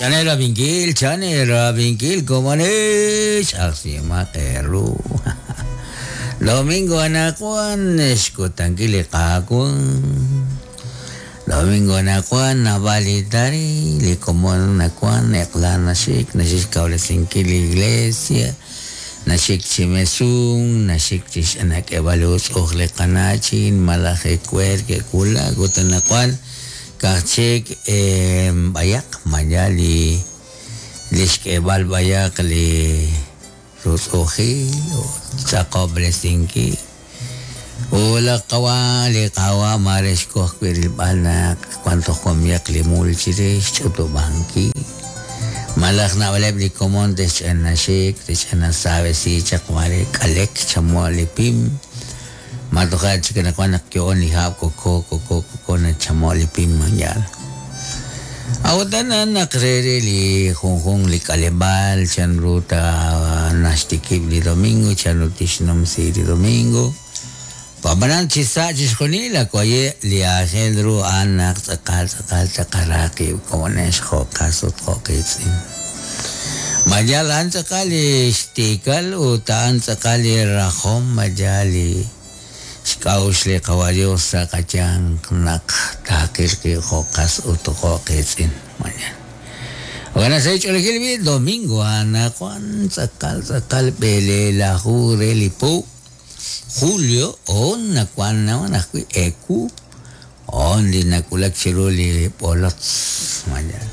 Chan eerab'inkil, chan eerab'inkil, komonex, ajsihomaq eeru. Domingo anaqwan, xkutankil li Qaawa'. Domingo anaqwan, naab'al li taril, li komon nawan, eq'la naxik, naxik xkawresinkil li iglesia, naxik chi mesunk, naxik chi xnak'eb'al li utz'uj li qana'chin malaj ewer ke'wulak ut anaqwan Ka'aj chik b'ayaq maya li li xk'eeb'al b'ayaq li rutz'u'ujil ut tz'aqob'resinkil. Ut laj qawa' li Qaawa' maare xko ajwi' rilb'al naq wan toj wamyaq li mul chirix xch'utub'ankil. Malaj naab'aleb' li komon te'xch'ina xik, te'xch'ina saab'esi chaq maare k'alek chamo'k li pim. Ma toja' chik anaqwan naq yo'on li hab' koko, koko, koko nachamo' li pim yaal. A'ut a'an naq re re li junjunq li k'aleb'aal chan ru ta naxtikib' li domingo, chan ru tixnumsi li domingo. Ab'anan chi sa' chixjunil ak waye' li aajel ru a'an naq tz'aqal tz'aqal taqara qib' komonex jo' qas ut jo' qiitz'in. Ma yaal a'an tz'aqal li xtiikal ut a'an tz'aqal li rajom? Ma yaal li xk'a'uxl li Qawa' Dios sa' qayanq naq taaqil qib' jo' qas ut jo' qiitz'in? Ma yaal. Jo'kan naq sa' li ch'oolejil b'i' domingo anaqwan tz'aqal tz'aqal b'eleelaju re li po julio hoon nawan nawan ajwi' ewu Hoon li nawulak chiru li b'olotz. Ma yaal.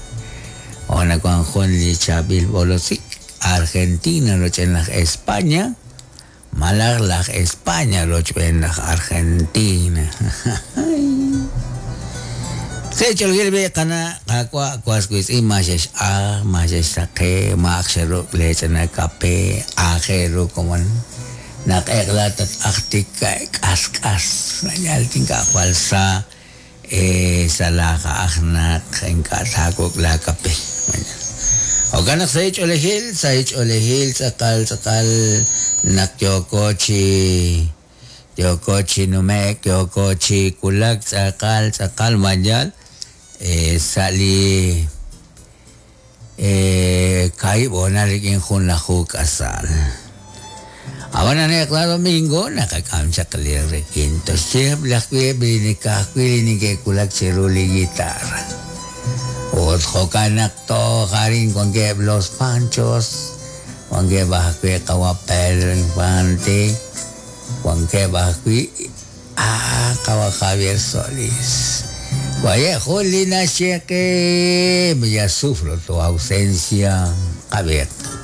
Hoon nawank jun li chaab'il b'olotzik, Argentina rochb'een laj España, malaj laj España rochb'een laj Argentina. Sa' ch'oolejil b'i' qana' Qaawa' was wiitz'in ma xex'ajk, ma xexsaqe, ma ak xeruk' leech'ina kape, aajel ru komon. Naq eq'la tat-ajtik k'ask'as, yal ink'a' jwal sa sa' laaja'aj naq ink'a' taawuk' laakape. Jo'kan naq sahil ch'oolejil, sahil ch'oolejil tz'aqal tz'aqal naq yooko chi yooko chi nume'k, yooko chi wulak tz'aqal tz'aqal ma yaal sa' li Kaahib' hoonal rik'in junlaju k'asal. Ab'anan eq'la domingo naqak'am chaq li requinto. Xyeeb' ajwi' eb' li ka'ajwi' li neke'wulak chiru li guitarra. Ut jo'kan naq toj arin wankeb' Los Panchos, wankeb' ajwi' qawa' Pedro Infante, wankeb' ajwi' Ah, qawa' Javier Solís. Waye' jun li naxye qe, Ya sufro tu ausencia, qab'iiq.